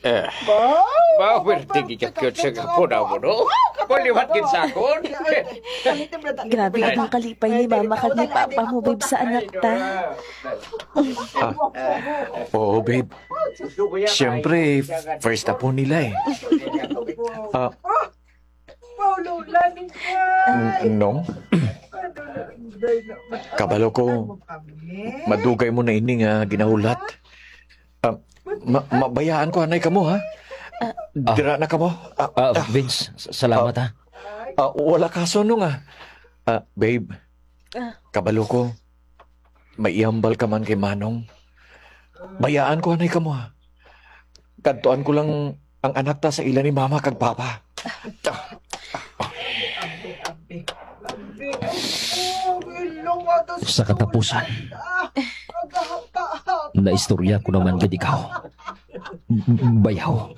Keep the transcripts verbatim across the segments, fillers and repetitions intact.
Eh, mawerte gid ka cute sa gapon mo, no? Maliwat gid sa akon. Grabe ang kalipay ni Mama kag ni Papa mo, babe, sa anak ta. Ah, oo, babe. Siyempre, first apo nila eh. Ah, N-, no? Kabalo ko, madugay mo na ini nga ginahulat. Ah, ma-, mabayaan ko anay kamo, ha? Ah. Dira na kamo. Ah, Ah, ah, Vince, s-, salamat, ah, ha. Ah, wala kaso, no, nga. Ah, babe, Ah. Kabalo ko, may ihambal ka man kay Manong. Bayaan ko anay kamo, ha. Kadtuan ko lang ang anak ta sa ila ni Mama kag Papa. Sa katapusan, naistorya ko naman gid ikaw. Bayaw.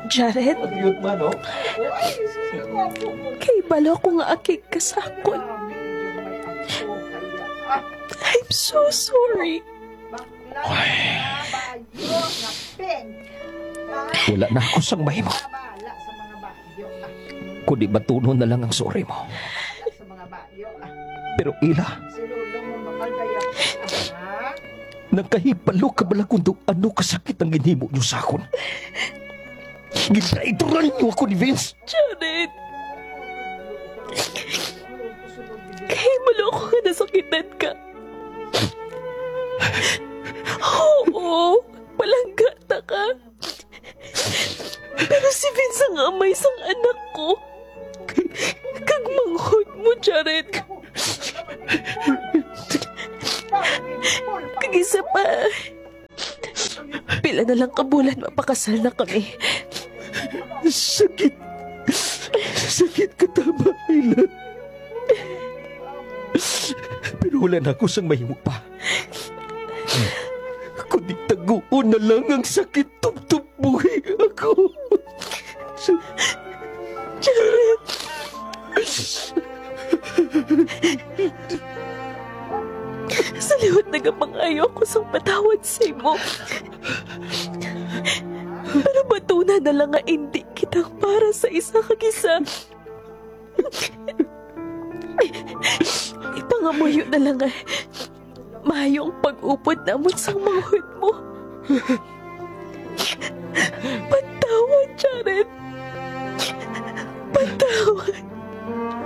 Jared? Kay balo ko nga akig ka sa akon. I'm so sorry. Ay. Wala na ako sang mahimo. Kundi batunon na lang ang sorry mo. Pero ila, nagkahibalo ka bala kung daw ano kasakit ang ginhimo niyo sa akon? Gintraidor niyo ako ni Vince. Jared, kahibalo ako nga nasakitan ka. Oo, palangga ta ka. Pero si Vince ang amay sang anak ko. Kag manghod mo, Jared. Kag isa pa, pila na lang ka bulan mapakasal na kami. Sakit. Sakit ka tama, Ilan. Pero wala na ako sang mahimo pa. Kundi taguon na lang ang sakit, tubtob buhi ako. Jared! Sa liwat nagapangayo ako sang patawad sa imo. Pero batuna na lang nga indi kita para sa isa kag isa. Ipangamuyo na lang nga maayo ang pag-upod namon sang manghod mo.